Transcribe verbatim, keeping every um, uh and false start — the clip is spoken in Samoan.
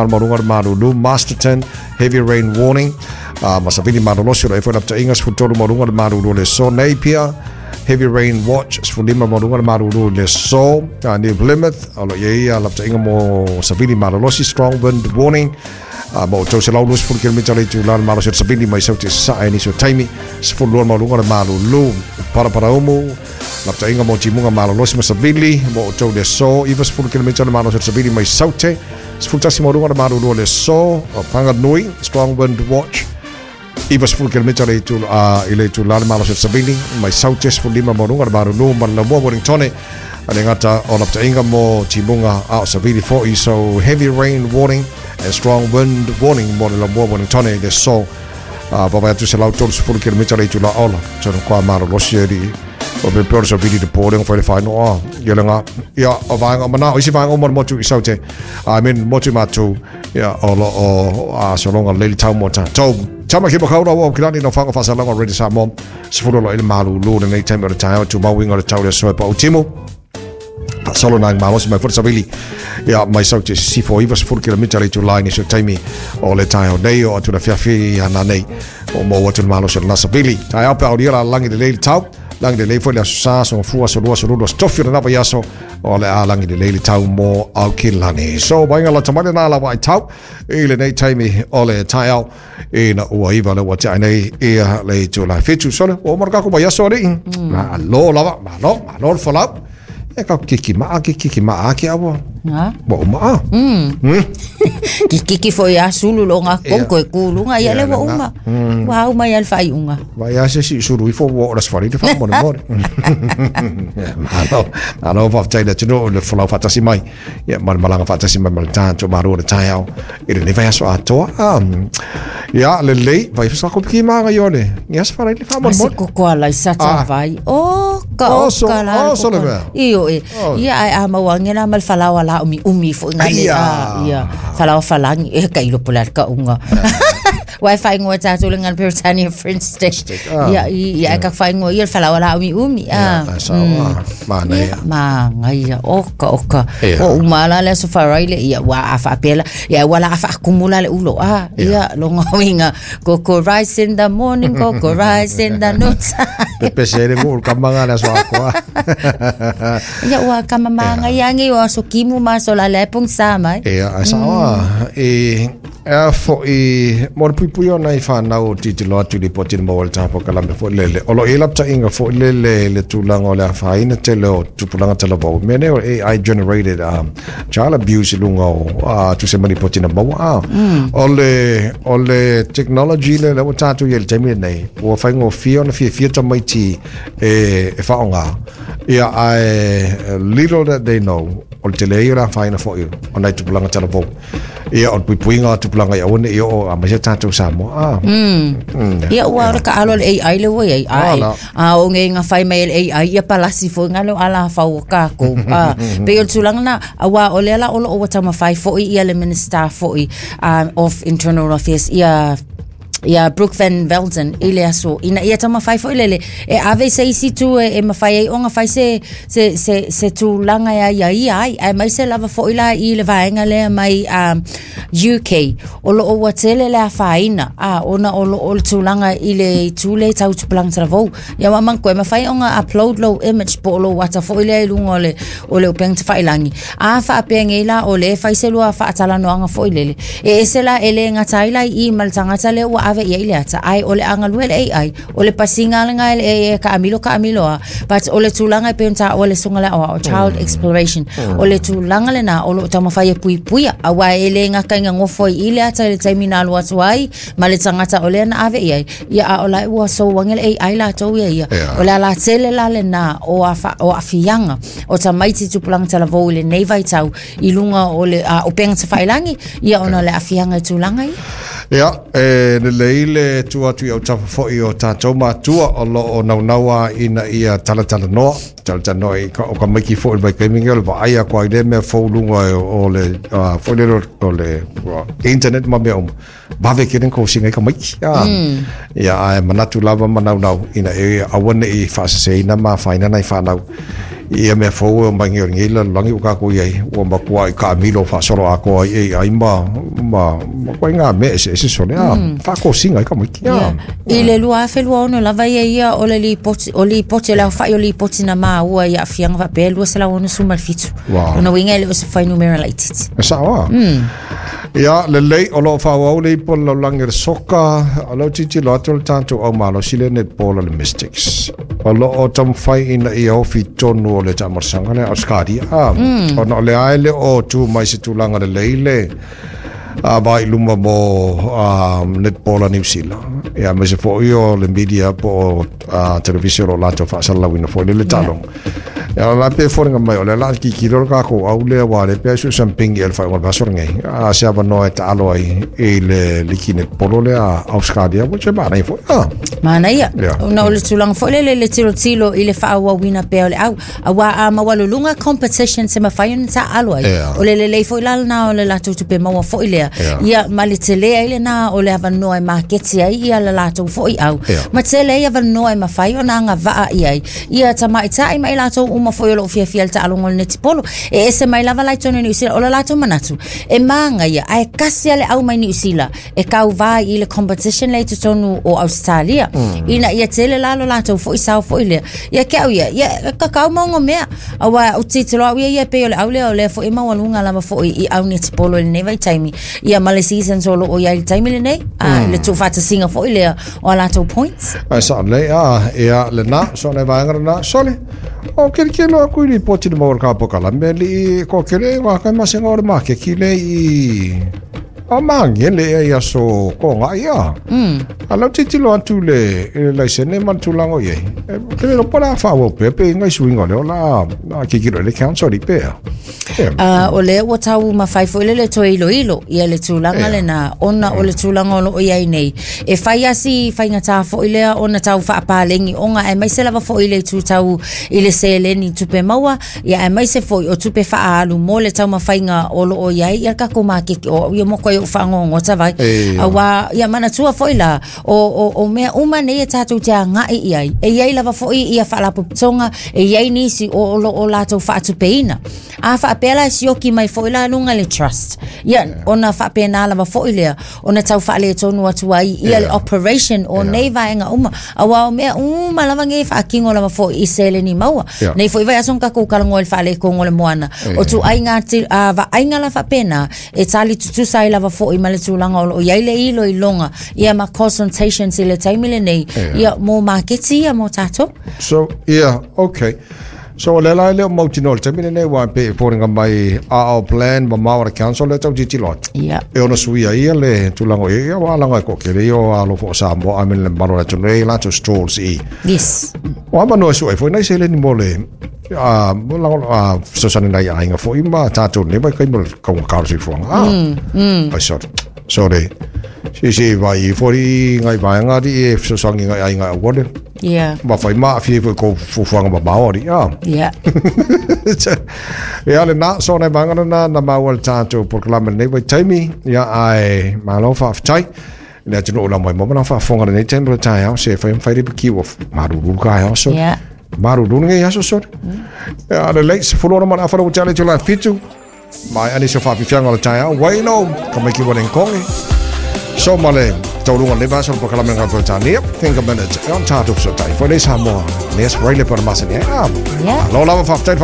Maualuga le malulu Masterton, heavy rain warning, uh, ma savili malolosi o le foi laptainga sefulutolu maualuga le malulu o le aso. Napier, heavy rain watch, sefululima maualuga le malulu i le aso. uh, New Plymouth o lo o i ai laptaiga mo savili malolosi, strong wind warning, uh, ma outou selau luasefulu kilomita le itula le malosi o le savili mai Saute i Sasae i nisi o taimi, sefululua maualuga le malulu. Paraparaumu, laptaiga mo timuga malolosi ma savili mo outou le aso, ivasefulu kilomita le malosi o le savili mai Saute, sefulutasi maualuga le malulu o le aso. O Whanganui, strong wind watch, ivasefulu kilomita le itu uh, i le itula le malosi o le savili mai Saute, sefululima maualuga le malulu. Ma le Laumua, Wellingtone, a le gata o laptaiga mo timuga a o savili fo'i, so heavy rain warning and strong wind warning mo le Laumua, Wellingtone i le aso, uh, vavae atu selau tolusefulu kilomita le itula ola tonu kwa malolosi e li o pe pe o le savili te pō lenga fai le whainoa ia le ngā ia o vaenga o mana o isi vaenga o mo le motu i Saute, I mean motu mātou ia o lo o a solonga leli tau mo tātou tama ki makau rawa o kilani no whanga whasalanga o Ready Samoa sefulu lo i le malulu lenei taimi o le taeao tu mauinga o le tau le aso e pa utimu faasolo nai malosi mai foi le savili ia mai Saute sisifo ivasefulu kilomita le itula i nisi o taimi o le taeao nei o atu le afiafi ana nei o mo atu le malosi o lena savili taeao pe aulia la lagi lelei le tau lagi lelei foi le aso sa aso gafua aso lua aso lulu aso tofi o lena vaiaso o le a lagi lelei le tau mo Aukilani. So vaaiga lata mai lena lava ai tau i lenei taimi o le taeao ina ua iva le ua tiai nei ia le itula fitu sole ua uma le kako vaiaso alii malo lava malo malo le folau e ka kiki maa ke kiki maa ke awa Ha? ua uma a. Mm. Kikiki foi a sulu lo ngā Ia. kongko e kulunga ia Ia le le ua ngā. uma. Ua au mai al whaiunga. Vai a se si sulu ifo ua ora sfari te whamone more. Malo, malo whaftai le tino le folau whatasi mai. Ia, ma le malanga whatasi mai ma le tānto maro le taeao. I le vai aso atoa. Um, ia, le lei, vai whasako piki maanga ione. Ia se wharai le whamone Ase more. koko ala i sata Ah. vai. O ka Oh, o so- ka la oh, so le koko. mea. Iyo e. Oh. Ia ai a mauange la mal falawa la umi umi fo ngale Aia. a ia. Falawa falangi e ka ilo pula ka unga. Wai whai ngoa tātou le ngana Britannia French Stick. ah. Ia i ia ka whai ngoa ia falawa la umi umi. Ia, Ah. ai sao, ah, mana ia. Ma ngai oka oka. Ia. O umala le aso wharai le ia wa a whaapela. Ia wala a whaakumula le ulo. Ah, ia longa winga. Koko rice in the morning, koko rice in the noon. Pepe se re ngu kamanga le aso akoa. Ia ua kama manga ia ngi o aso kimu ma so la le pong sa mai. Ia, ai sao ah. E, ea fo'i mo le puipui ona i whanau o titilo atu i lipoti na maua i le tapo kalame fo'i lele. O lo i laptainga fo'i lele le tulaga o le afaina tele o tupulaga talavou. Mea nei o A I generated um, child abuse i luga o uh, tusa ma lipoti na maua. Ah. O le, o le technology le le ua tātou i ai i le taimi lenei, ua faigofie ona fiafia tamaiti e, e whaonga. Ia, ae little that they know, o le tele ia o le afaina fo'i o nai tupulaga talavou. Ia, o le puipuiga o tupulaga i aua nei o a mai se tātou Samoa. Ah. Mm. Ia ua ora ka alo le A I le ua ai. Ah, Ai. la. A o nge nga whai mai le A I ia palasi fo nga le ala whau o kākou. Ah, pe o le tulaga na a wā o le ala o lo o tama whai foi ia le Minister foi um, of Internal Affairs ia ia Brooke Van Velden i le aso ina ia tama whai foi lele e ave se isi tu e, e mawhai ai onga whai se se se se tulaga ia ia ia ai ai mai se lava foi la i le vaenga lea mai um, U K o lo o ua tele le afaina a ona o lo o le tulaga i le itu le tau tupulaga talavou ia wa mankoe mawhai onga upload low image po o lo wata foi lea i luga o le o le upega tafailangi a faapea la o le fai se lua faatalanoaga foi lele e ese la e le gata ai la i ma le tagata lea ua ave i ai le ata ai o le agalue le A I o le pasiga lega e le e kaamilo kaamilo a but o le tulaga e pei ona taua le suga le aoao child exploration o le tulaga lenā o loo taumafai e puipuia auā e le gakaiga gofo ai i le ata i le taimi na alu atu ai ma le tagata o lea na ave i ai ia a o lae ua souage le A I latou ia ia Ia. o le alatele la lenā o afa- o aafiaga o tamaiti tupulaga talavou i lenei vaitau i luga o le a, upega tafailagi ia ona o le aafiaga i tulaga ia. Ia, e lelei le tu atu i autafa fo'i o tātou matua o lo o naunaua ina ia talatalanoa, talatalanoa i ka, o ka maiki fo'i le vaikaimi o le vaai aku ai le mea fou luga e o le, uh, fo'i le o le o internet ma mea uma. Vave ke ren kousinga i ka maiki. Ah. Ia, ae manatu lava ma naunau ina e aua ne'i faaseseina ma afaina nai fanau. Ia mea fou e o mai ngei ngei lalolagi ua kakou i ai ua matua i kaamilo faasolo atoa ai ai ma ma ma koe ngā mea eseese sole a faakosiga ai kamaiti a. I le lua afe lua ono lava ia ia o le lipoti o lipoti o le aofa'i o lipoti na maua i aafiaga faapea lua selau ono suma le fitu. Wow. Ona uiga e le o se fuainumera laititi. E sao a. Ia lelei o loo faaauau le ipo le lalolagi o le soka o leo tilotilo atu le tatou aumalosi le netball o le Mystics o loo taumafai ina ia ofi tonu o le taamalosaga le Australia a ona o le ae le o tu mai se tulaga lelei le a vai luma mo um, netball a New Zealand. Ia me se fo'i o le media po o uh, televisi o lo latou faasalalauina fo'i le le taaloga. Ia la pe foliga mai o le la kikilo le kakou au lea ua le pea su sampingi e le faaiuga o le vaiaso lenei. A se avanoa e taalo ai i le liki netball lea Australia which e manaia fo'i a. Manaia. Yeah. Ona o le tulaga foi lele le tilotilo i le faaauauina pea o le au. Auā a maualuluga competition se mafai ona taaalo ai. Yeah. O le lelei foi la lena o le latou tupe maua foi lea. Yeah. Ia ma le tele ai lena o le avanoa e maketi ai ia le latou foi au. Yeah. Ma tele ai avanoa e mafai ona agavaa i ai. Ia tamaita'i ma i latou uma foi o loo fiafia le taaloga o le netipolo. E ese mai lava lai tonu i Niu Sila o le latou manatu. E māgaia ae kasi a le au mai Niu Sila e kauvā i le competition lea i totonu o Australia. Ina ia tele la lo latou foi sao foi lea. Ia ke au ia, ia kakau maunga mea. Aua o titilo au ia ia pe o le au lea o lea foi e maualuga lava foi i au netipolo i lenei vaitaimi. Ia ma le season o loo i ai le taimi lenei. A le tuufaatasiga foi lea o a latou points. Ai sa le a ia le na so le vaega na sole. O kele kele aku i ripoti le maua ka pokala me li ko kele wa ka masenga o le make ki le i a mangele e ia so ko ngā ia. A lau titilo atu le i le laisene ma le tulaga o i ai. E kele lo pala whaau pe pe ngai suinga o leo la a kikilo le council i pea. Yeah. Uh, o lea ua tau mafai foi le le toe iloilo ia le tulaga Yeah. lena ona o le tulaga o loo i ai nei. E fai asi faigata foi lea ona tau faapalegi oga aemaise lava foi i le itu tau i le seleni tupe maua ia aemaise foi o tupe faaalu mo le taumafaiga o loo i ai ia le kakou makeke o ia mo koe o faagogota vai. E, Auā ia manatua foi la o, o, o mea uma nei e tatou te aga'i i ai. E iai lava foi ia faalapotopotoga e iai nisi o o loo latou faatupeina. A faapea la e sioki mai foi la luga le trust. Ia ona faapena lava foi lea ona tau faaletonu atu ai ia le Yeah. operation o Yeah. nei vaega uma. Auā o mea uma lava nei faakino lava foi i seleni maua. Yeah. Nei foi vaiaso na kakou kalagoa i le faalekogo o le moana. O tuaiga ti- a vaaiga la faapena e tali tutusa ai lava foi ma le tulaga o loo i ai le iloiloga ia ma consultations i le taimi lenei Yeah. ia mo maketi ia mo tatou. So, yeah, okay. So, o le lai leo mautino le taimi lenei wa pe e pōringa mai a au plan ma maua le council le tau titilo atu. Ia. E ona suia ia le tulaga ia ia wa langa e ko kele ia o alo fo Samoa a me le maro le tunu e lato stalls i. Yes. O ama noa sua e foi nei se le ni mo le a mo langa a sosani nei ainga foi ma tātou ne vai kai mo le kaunga karo si fuanga. Ah. Mm, mm. Ai sorry. Sorry. Si si vai fori ngai vai ngari e sosangi ngai ainga wole. Yeah. Ma whai maa fie foi ko fufuanga ma Maori. Ah. Yeah. Ia le nā, so nei vangana nā, na maua le tātou polokalame nei vai taimi, ia ai malo faafetai. Le atunuu la mai mo mana faafofoga lenei taimi o le taeao, se e fai mawhai repi ki ua maruru ka ai so. Yeah. Maruru ngai aso so. Ia le lei, se fulo ona mana awhara o te ale tula fitu. Mai ani so whaapifianga o le taeao, waino, ka mai ki wane kongi. So male, taurunga le vasa o polokalame ngā Peretania, think a minute, e on tātou so tai, foi le Samoa, nes raile pa masani, ah. Yeah. Lo lava faafetai.